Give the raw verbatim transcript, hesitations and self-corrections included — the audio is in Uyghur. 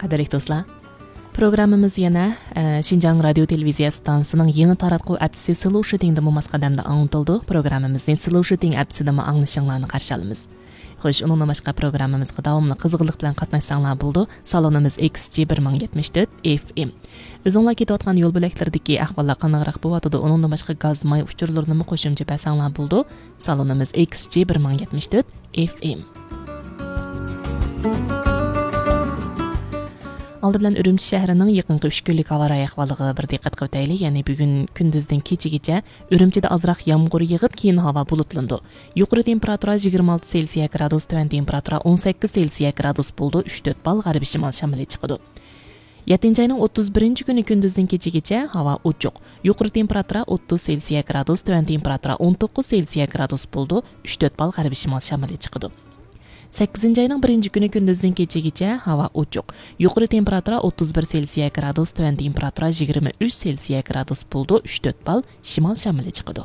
قەدىرلىك دوستلار، پروگراممىمىز يەنە، ئە، شىنجاڭ رادىيو تېلېۋىزىيە ئىستانسىسىنىڭ يېڭى تاراتقۇ ئەپچىسى سلوشىتىڭدىمۇ ماس قەدەمدە ئاڭلىتىلىدۇ. پروگراممىمىزنى سلوشىتىڭ ئەپچىسىدىمۇ ئاڭلىشىڭلارنى قارشى ئالىمىز. خوش، ئۇنىڭدىن باشقا پروگراممىمىزغا داۋاملىق قىزغىنلىق بىلەن قاتناشساڭلار بولىدۇ. سالونىمىز ئېكس جى بىر مىڭ يەتمىش تۆت ئېف ئېم. ئۆزۈڭلار كېتىۋاتقان يول بۆلەكلىرىدىكى ئەھۋاللار قانداقراق بولۇۋاتىدۇ، ئۇنىڭدىن باشقا گاز، ماي ئۇچۇرلىرىنىمۇ قوشۇمچە بەرسەڭلار بولىدۇ. سالونىمىز ئېكس جى بىر مىڭ يەتمىش تۆت ئېف ئېم. ئالدى بىلەن ئۈرۈمچى شەھىرىنىڭ يېقىنقى ئۈچ كۈنلۈك ھاۋا رايى ئەھۋالىغا بىر دىققەت قىلىۋېتەيلى. يەنى بۈگۈن كۈندۈزدىن كېچىگىچە ئۈرۈمچىدە ئازراق يامغۇر يېغىپ، كېيىن ھاۋا بۇلۇتلىنىدۇ. يۇقىرى تېمپېراتۇرا يىگىرمە ئالتە سېلسىيە گرادۇس، تۆۋەن تېمپېراتۇرا ئون سەككىز سېلسىيە گرادۇس بولىدۇ، ئۈچ تۆت بال غەربىي شىمال شامىلى چىقىدۇ. يەتتىنچى ئاينىڭ ئوتتۇز بىرىنچى كۈنى كۈندۈزدىن كېچىگىچە ھاۋا ئوچۇق. يۇقىرى تېمپېراتۇرا ئوتتۇز سېلسىيە گرادۇس، تۆۋەن تېمپېراتۇرا ئون توققۇز سېلسىيە گرادۇس بولىدۇ، ئۈچ تۆت بال غەربىي شىمال شامىلى چىقىدۇ. سەككىزىنچى ئاينىڭ بىرىنچى كۈنى كۈندۈزدىن كېچىگىچە ھاۋا ئوچۇق. يۇقىرى تېمپېراتۇرا ئوتتۇز بىر سېلسىيە گرادۇس، تۆۋەن تېمپېراتۇرا يىگىرمە ئۈچ سېلسىيە گرادۇس بولىدۇ، ئۈچ تۆت بال شىمال شامىلى چىقىدۇ.